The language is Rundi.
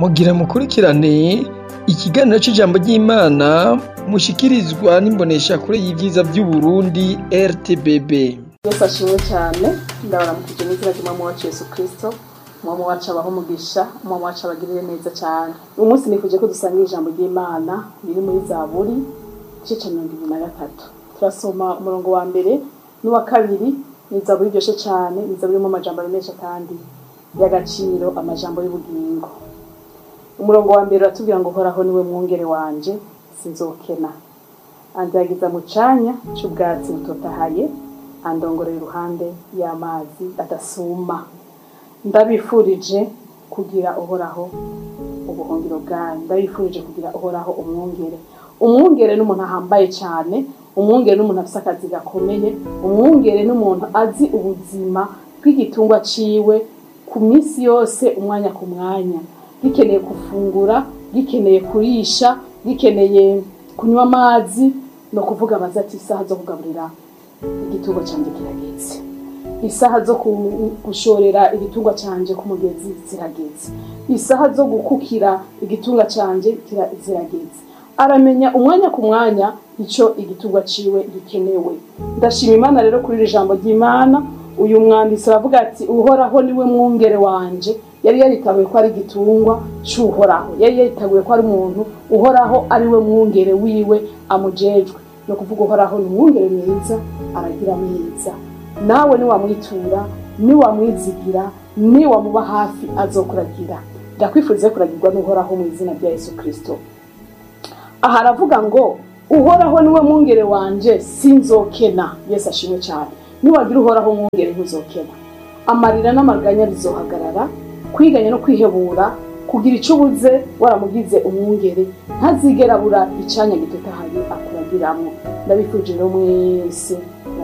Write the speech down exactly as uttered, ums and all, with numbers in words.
Mugira mukurikirane ikiganiro c'ijambo ry'Imana mushikirizwa n'imboneshakure y'ivyiza vy'Uburundi R T B B. Yesu ashimwe cyane. Ndabaramukije n'izina ry'Umwami wacu Yesu Kristo. Umwami wacu abaho umugisha, Umwami wacu abagirire neza cyane. Uyu munsi nifuje ko dusangira ijambo ry'Imana riri muri Zaburi, igice ca mirongo ibiri na gatatu. Turasoma umurongo wa mbere n'uwa kabiri. Ni zaburi iryoshe cyane, ni zaburi irimo amajambo menshi kandi y'agaciro, amajambo y'ubugingo. Umurongo wa mbere uratubwira ngo: "Uhoraho niwe mwungere wanje, sinzokena. Andagiza mu canya c'ubwatsi butotahaye, andongorera iruhande y'amazi adasuma." Ndabifurije kugira Uhoraho ubuhungiro bwanyu. Ndabifurije kugira Uhoraho umwungere. Umwungere n'umuntu ahambaye cyane, umwungere n'umuntu afise akazi gakomeye, umwungere n'umuntu azi ubuzima bw'igitungwa ciwe ku minsi yose, umwanya ku mwanya: gikeneye gufungura, gikeneye kurisha, gikeneye kunywa amazi. No kuvuga baza ati: "Isaha zo kugaburira igitungwa canje kirageze, isaha zo gushorera igitungwa canje ku mugezi zirageze, isaha zo gukukira igitungwa canje zirageze." Aramenya umwanya ku mwanya ico igitungwa ciwe gikenewe. Ndashima Imana rero kuri iri jambo ry'Imana. Uyu mwanditsi aravuga ati: "Uhoraho niwe mwungere wanje." Yari yaritabuye ko ari igitungwa c'Uhoraho, yari yaritabuye ko ari umuntu Uhoraho ari we mwungere wiwe, amujejwe. No kuvuga, Uhoraho ni umwungere mwiza, aragira neza. Nawe niwamwitura, niwamwizigira, niwamuba hafi, azokuragira. Ndakwifuriza kuragirwa n'Uhoraho mu izina rya Yesu Kristo. Aha aravuga ngo: "Uhoraho niwe mwungere wanje, sinzokena." Yesu ashimwe cyane. Niwagira Uhoraho mwungere, ntuzokena. Amarira n'amaganya bizohagarara, kwiganya no kwihebura, kugira icyo ubuze. Waramugize umwungere, ntazigera abura icanya gitotahaye akuragiramwo. Ndabifuje rero mwese.